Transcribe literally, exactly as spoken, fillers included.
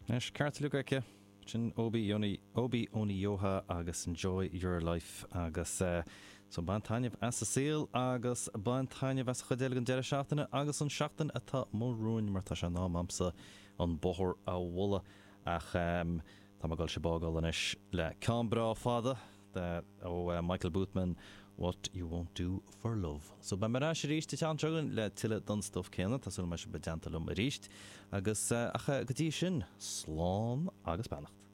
Anois, ceart go leor aici, sin Obi Oni, Obi Oniyoha agus Enjoy Your Life agus uh, so bain taitneamh as an saol agus bain taitneamh as chuid eile den deireadh seachtaine agus an seachtain atá romhainn mar tá sé in am a'msa an bóthar a bhualadh ach um, tá mé ag dul sibh a fhágáil anois le ceann breá fada de, ó uh, Michael Boothman What You Won't Do For Love. So beidh mé ar ais arís an tseachtain seo chugainn le tuilleadh den stuff céanna tá súil go mbeidh sibh i dteannta liom arís agus uh, ach uh, go dtí sin slán agus beannacht.